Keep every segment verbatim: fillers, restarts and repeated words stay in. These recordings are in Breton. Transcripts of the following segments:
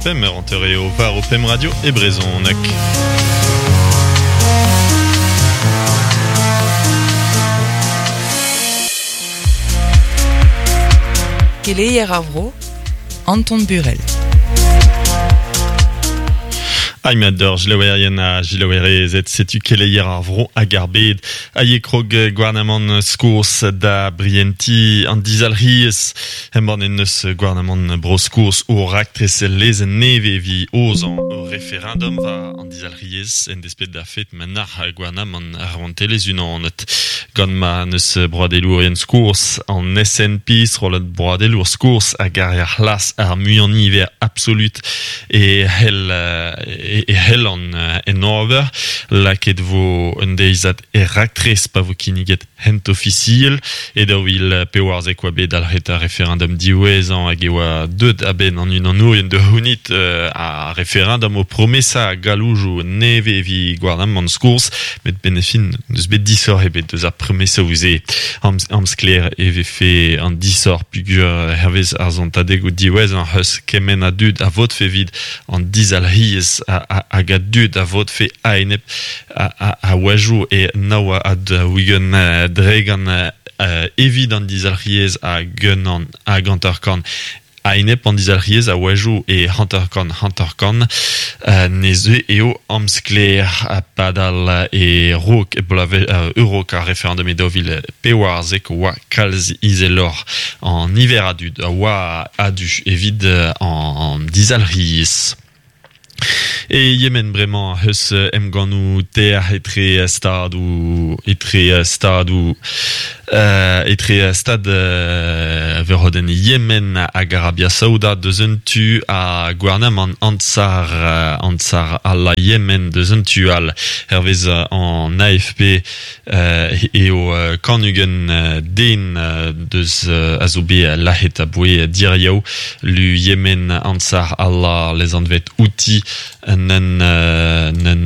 Pemp eur hanter eo war o pemp radio e brezhoneg. Keleier ar vro, Anton Burel. Aimador, jilaouerien a jilaouerezet, setu keleier ar vro hag ar bed. Aie krog gouarnamant Skours da brienti an dizalriez. Hemban en neus gouarnamant bro Skours o raktres lezen neve vi ozan o referendum va an dizalriez en despet da fet manar gouarnamant ar vantelez unanet. Gant ma neus broadelourien Skours an S N P, srollad broadelour Skours hag ar ar c'hlas ar muian niver absolut e hel e, e hel an en ober laket vo un deizad e raktres pa vo kinniget hent ofisiel e daou vil pevarzek oa bet dalc'het ar referendum diwezhañ hag e oa deut a-benn an unanourien de c'hounit euh, a referendum o promesa a galoujoù neve evi gouarnamant Skours met benefin neus bet disoc'h ebet deus ar promesa ouze am, amsklaer e vefe an disoc'h pugur hervez ar zontadeg o diwezhañ c'heus kement a dud a votfe evit an dizalc'hiez a, a, hag a dud a votfe a-enep a, a, a oajoù e naoa ad wigen dregan euh, evit an dizalc'hiez hag un an hag hanter-kant a-enep an dizalc'hiez a oajoù e hanter-kant hanter-kant euh, neze eo amsklaer a padal e rok e blave euh, eurok ar referendum e daou vil pevarzek oa kalz izelor an niver a dud a oa adu evit an dizalc'hiez. E Yemen bremañ eus emgannoù ter etre stadoù etre stadoù euh, etre stad euh, verroden Yemen hag Arabia Saouda deus un tu a gouarnamant Ansar Ansar Allah Yemen deus un tu al hervez an A F P euh, eo kanugen den deus a zo bet lahet a boe diriaou lu Yemen Ansar Allah les anvet outi nen nen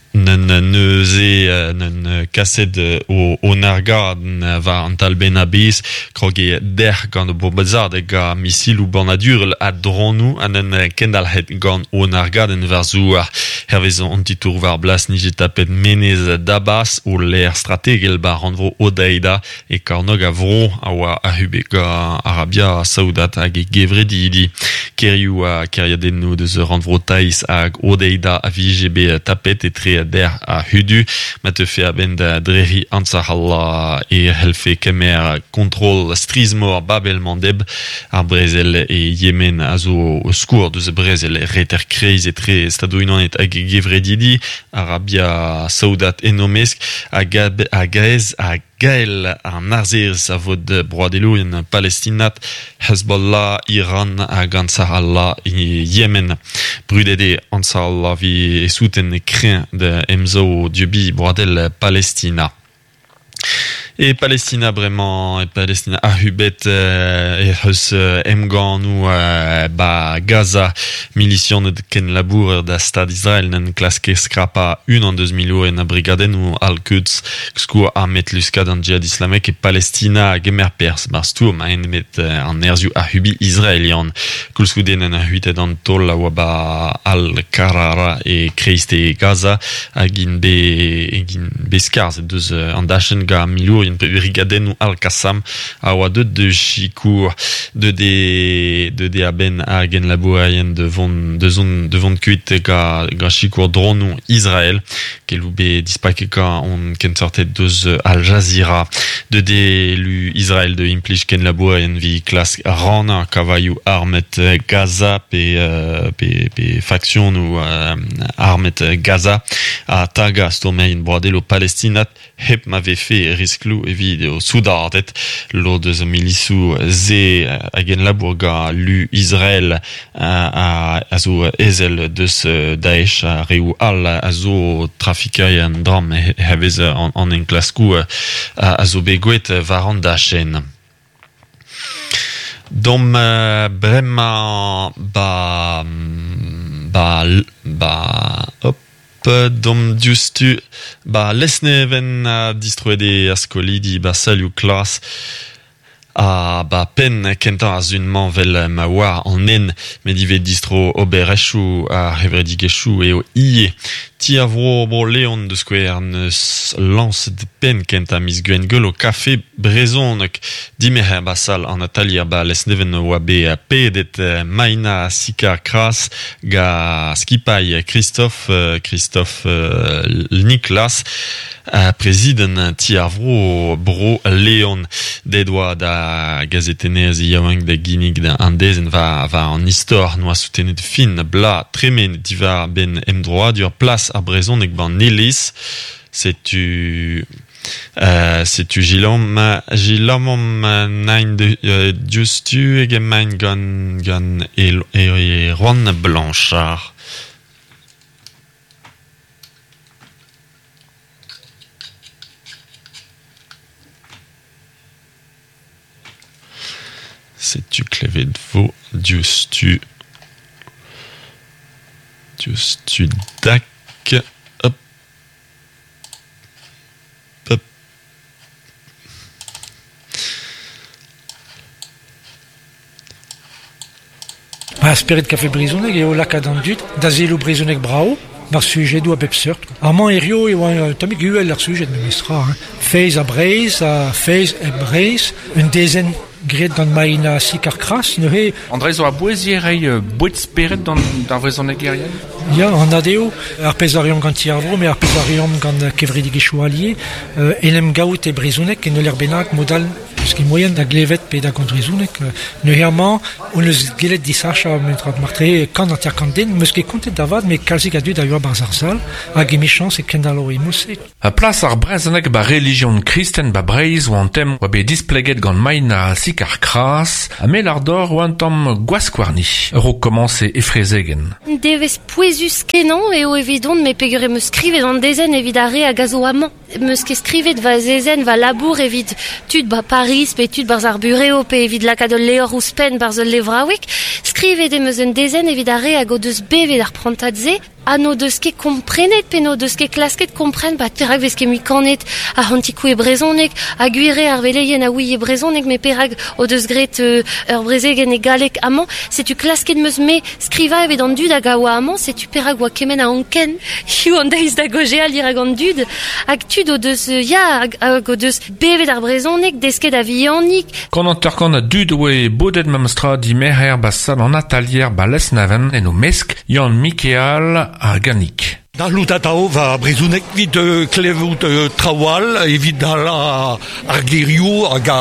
nen neuze nen kaset o, o nargad war an talben a bez krog e der gant o bombazard hag a misilou banadurel a dronou an en kendalc'het gant o nargad en war zouar hervez an titour war blas nije tapet menez dabas o l'air strategel bar rannvro Odeida e kornog a vro a oa a hube gant Arabia Saoudat hag e gevredidi kerioù a keriadennoù deus rannvro Taiz hag Odeida a vije bet tapet etre der a hudu ma te fe a-benn da dreri Ansar Allah e helfe kemer kontrol strizh-mor Bab el Mandeb ar brezel e Yemen a zo o skour deus brezel reter kreiz etre Stadoù-Unanet hag gevredidi Arabia Saoudat enomesk hag hag aez hag Gael an arzerez a vod broadelourien palestinat, Hezbollah, Iran hag Ansar Allah e Yemen. Brudet eo Ansar Allah vi e souten kreñv da emsav dieubi broadel Palestina. E Palestina bremañ, e Palestina a hubet euh, e c'heus emgannoù euh, ba Gaza milisianed ken labourer da stad Israel nen klaske skrapa un an deus milourien a brigadennoù Al-Quds skour armet luskad an djihad islamek e Palestina a gemer perzh bar stourm a enebet an nerzhioù a hubi israelian. Koulskoude nen a huitet an taol a oa ba Al-Karara e kreiste Gaza hag int be, hag int be skarzhet deus an dachenn ga milourien brigadennoù Al-Qassam a oa deut de sikour de de de de a-benn hag en labourerien de vont de zon de vont kuit ga ga sikour dronoù Israël kelou be dispaket ga on kensortet deus Al Jazeera de de lu Israël de implij ken labourerien vi klask rannañ kavaioù armet Gaza pe euh, pe pe faksionoù euh, armet Gaza a taga stourmerien broadelo palestinat hep ma vefe riskloù evit o soudardet lod eus milisoù ze hag en labour ga lu Israël a, a, a zo ezel deus Daesh a reoù all a zo trafikerien dramm hervez an, an enklaskoù a, a zo bet gwelet war an dachenn. Dom bremañ ba ba ba hop dom diouzhtu ba Lesneven a distroet eo ar skolidi ba salioù klas A ba pen kentañ ar zun-mañ vel ma oa an en met ivez distro oberezhioù ar c'hevredigezhioù eo ivez. Ti ar vro bro Leon de skouer neus lañset penn kentañ miz Gwengolo kafe brezhoneg. Dimerc'her ba sal an atalier ba Lesneven oa bet pedet Maina Sicard-Cras ga skipailh Christophe Christophe Niklas prezident ti ar vro bro Leon. Ded oa da gazetennerez yaouank da ginnig da an dezenn va, va an istor noa soutenet fin bla tremen diwar ben emdroadur plas ar brezhoneg ban iliz. Setu euh, setu gilam gilamom nain de euh, diouzhtu hag emaint gant gant Erwan Blanchard. Setu klevet vo diouzhtu diouzhtu dak. Hop. Hop. Ba spered kafe brezhoneg eo lakaat an dud da selloù brezhoneg brao bar sujedoù a bep seurt. Amañ hirio e oa tammig uhel ar sujed memestra. Hein. Feiz a Breizh, a feiz e Breizh, un dezenn graet gant Maina Sicard-Cras, neuze... André zo a bouezier reiñ boued spered d'an d'ar vrezhonegerien? Ya, an adeo, ar pezh a reomp gant ti ar vro, met ar pezh a reomp gant kevredigezhioù allié, euh, en em gaout e brezhoneg en ul bennak modal eus ket moaien da glevet pe da gant brezhoneg. Neuze amañ, on eus gellet disachañ mentra martre kant hanter kant den, meus ket kontet da vat, met kalzik a dud a yoa barzh ar sal, hag emichañs e kendalo e mouse. A plas ar brezhoneg ba relijion kristen ba Breizh oa an tem oa bet displeget gant Maina Sicard-Cras, ha mel ar dor oa an tamm gwaskwarni, ur o komañse efrezegen. Devez pouezus kenañ eo evidon me peogwir em eus skrivet an dezenn evit ar re hag a zo amañ. Meus ket skrivet va zezenn va labour evit tud ba Paris pe tud barzh ar bureo pe evit lakaat ul levr ouzhpenn barzh ul levraoueg. Skrivet em eus un dezenn evit ar re hag o deus bevet ar prantad-se ha n'o deus ket komprenet pe n'o deus ket klasket kompren ba perak vez ket mui kanet ar c'hantikou e brezhoneg ha gwire ar veleien a ouie brezhoneg met perak o deus graet euh, ur brezegenn e galleg amañ. Setu klasket meus me skrivañ evit an dud hag a oa amañ, setu perak oa kement a anken hiziv an deiz da gojeal dirak an dud hag tud o deus ya hag, hag o deus bevet ar brezhoneg desket a vihanik. Kant hanter-kant a dud oe bodet memestra dimerc'her ba sal an atalier ba Lesneven en o mesk Yann Mikeal ar Ganik. Da lout atao va brezhoneg evit euh, klevout euh, traoù all, evit ala ar gerioù hag a,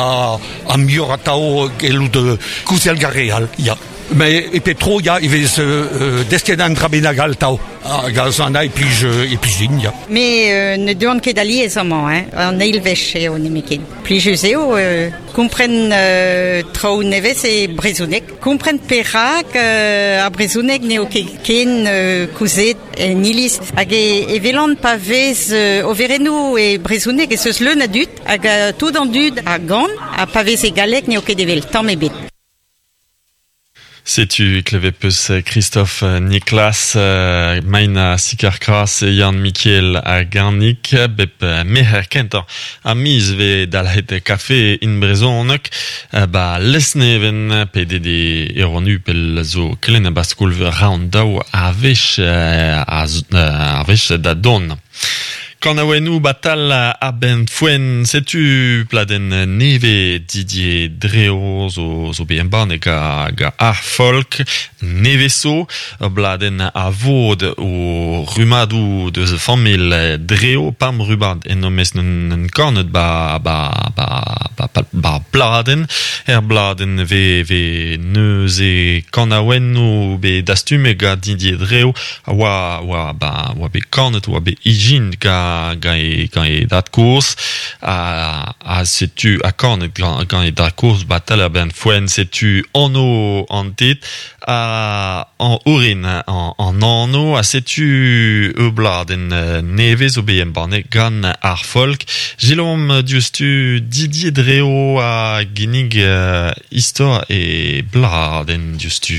a muioc'h atao gellout euh, kouzel gar re all, ya. Mais e pep tro, ya, e vez euh, desket an dra bennak all tao. Hag a zan e plij, e plij din, ya. Me euh, ne deuan ket alies amañ, hein, an eil wech eo nemetken. Plijus eo, euh, kompren euh, traoù nevez e brezhoneg. Kompren perak euh, ar brezhoneg n'eo ket ken euh, kouzet en iliz. Hag e, e velan pa vez euh, overennoù e brezhoneg ez eus leun a dud, hag euh, tout an dud a gan, ha pa vez e galleg n'eo ket evel tamm ebet. Setu klevet peus Christophe Niklas, Maina Sicard-Cras, Yann Mikiel ha Garnik, bep merc'her kentañ a miz vez dalc'het kafe in brezhoneg ba Lesneven pedet e Erwan Hupel zo kelenn ba skol-veur Round daou a wech a wech da don. Kanaouennoù batal a ben foen, setu pladenn neve Didier Dreo zo, zo bet embannet ga, ga ar folk neveso, bladenn a vod o rumadoù deus familh Dreo, pam rubad en omez n'en kornet ba, ba, ba, ba, ba, ba bladenn, er bladenn ve, ve neuze kanaouennoù be dastume ga Didier Dreo, oa, oa, ba, oa bet kornet, oa bet ijin ga gant e, gant e dad kozh a, a setu a kornet gant, gant e dad kozh batal ar ben foen setu anv an tet a an orin an, an anv a setu ur bladenn nevez zo bet embannet gant ar folk. Gilom diouzhtu Didier Dreo a ginnig uh, istor e bladenn diouzhtu.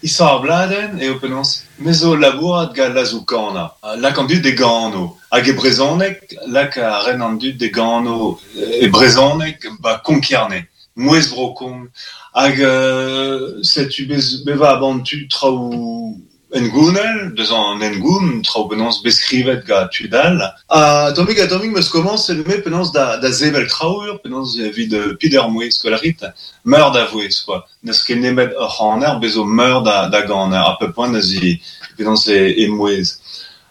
Istor ar bladenn eo penaos me zo labourat gant lazoù kanañ, lak an dud de gano. Hag e brezhoneg, lak a ren an dud de gano e brezhoneg ba Konk-Kerne. Mouez brokong. Hag euh, setu bez, beva aban tu traoù engounel, deus an engoun, traoù penaos beskrivet ga tudal. Ha tomig a tomig meus komañset me penaos da, da sevel traour, penaos evit pider mouez, skolarit, meur da vouez, quoi. N'eus ket nemet ur c'haner, bezo meur da, da ganer, a peu poent deus i penaos e, e mouez.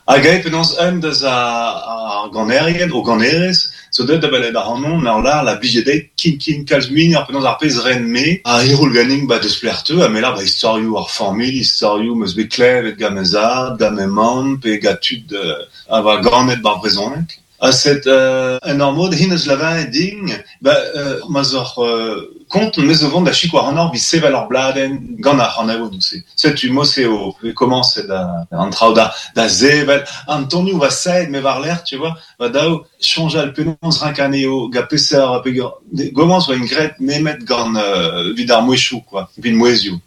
Hag ae penaos un deus ar ganerien, o ganerez, zo deuet da belet ar c'hanon, ur lar la blije dezhi kin kin kalz muioc'h ar penaos ar pezh ren me, a hiroul ganin ba deus plerteu, ha me lar ba istorioù ar familh, istorioù meus bet klevet gant me zad, gant me mamm, pe gant tud euh, a va ganet bar brezhoneg. Ha set euh, en ur mod hin eus lavaret din, ba euh, ma zoc'h euh, kont me zo vont da sikour an or vi sevel ar bladenn gant ar c'hanaouennoù se. Setu mo se o komañset da an traoù da da sevel an tonioù va saet me war l'air, tu vois, va daou soñjal penaos rank anezho ga peseurt peogwir gomañs oa ingret nemet gant euh, vid ar mouezhioù, quoi, vid mouezhioù.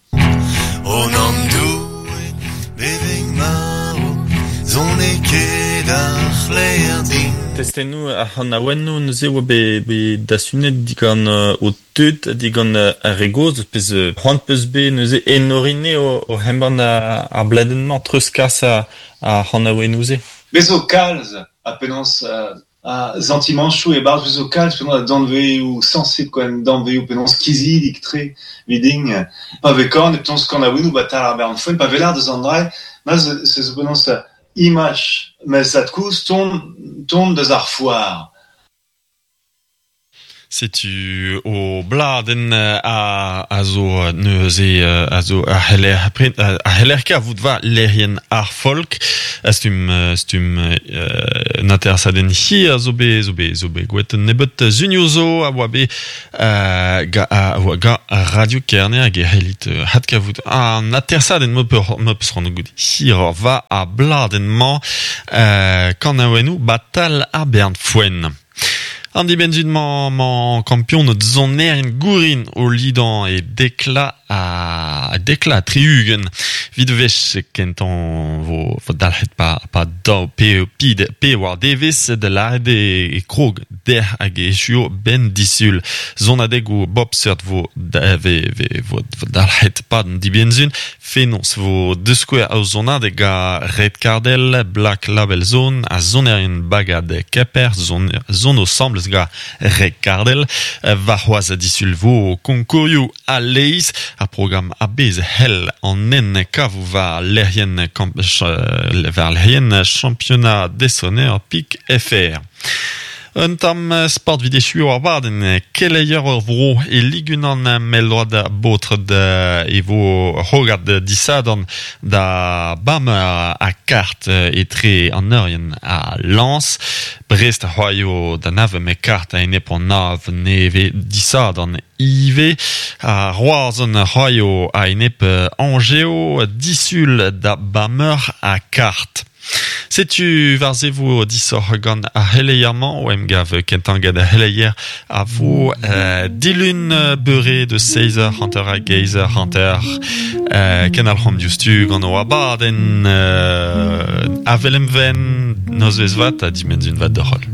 O nan Doue, beveg maro, zon e ket ar c'hleer din. Testennoù ar c'hanaouennoù neuze oa bet, bet dasunet digant euh, o tud, digant euh, ar re gozh, pezh euh, c'hoant peus bet neuze enorine o, o hembann ar, ar bladenn-mañ treuzkas ar, ar c'hanaouennoù-se. Bez zo kalz a penaos euh, a santimanchoù e-barzh bez zo kalz penaos a danveioù sañset quoi, danveioù penaos kizidik tre viding. Pa vez korn e penaos kanaouennoù ba tal ar bern foenn, pa vez lar deus an dra, ma se zo penaos imaj ma zad kozh ton, ton deus ar foar. Setu o bladenn a, a zo neuze a zo a c'heller a c'heller kavout war lec'hienn ar folk a stumm stumm euh, n'atersadenn hi a zo bet zo bet zo bet gwelet un nebeut zunioù zo a oa bet euh, ga, a oa ga Radio Kerne hag e c'hellit hat kavout an atersadenn mo peur mo peus c'hoant gout hir va a bladenn-mañ euh, kanaouennoù batal ar bern foenn. An dibenzun mañ, mañ kampion zonerien gourin o lidan e dekla a dekla triugen. Vid vech kentan vo, vo dalc'het pa, pa daou pe, pe, pe war devez de lâret e, e krog der hag echuo ben disul. Zonadeg o bop seurt vo, da, ve, ve, vo, vo dalc'het pa an dibenzun. Fenoz vo deus skouer a zonadeg a Red Cardell, Black Label Zone, a zonerien bagad Keper, zon, zon ensemble ga Red Cardell, va c'hoazh a disul vo konkourioù a leiz, ar programm a bez hell an en kav war lec'hienn kamp, war lec'hienn championnat des pik F R. Un tamm sport vid echu ar badenn keleier ur vro e ligunan melload baotr e vo c'hogad disadorn da bam a kart etre an eurien a Lens. Brest a c'hoaio da nav me kart a enep an nav neve disadorn ive. A Roazhon a c'hoaio a enep Angeo disul da bameur a kart. Setu war se vo disoc'h gant ar c'heleier-mañ o emgav kentañ gant ar c'heleier a vo euh, dilun beure de seiz heures hanter hag eizh heures hanter euh, ken al c'hom diouzhtu gant o abadenn euh, avel emven nozvezh vat ha dimenzun vat d'ur c'holl.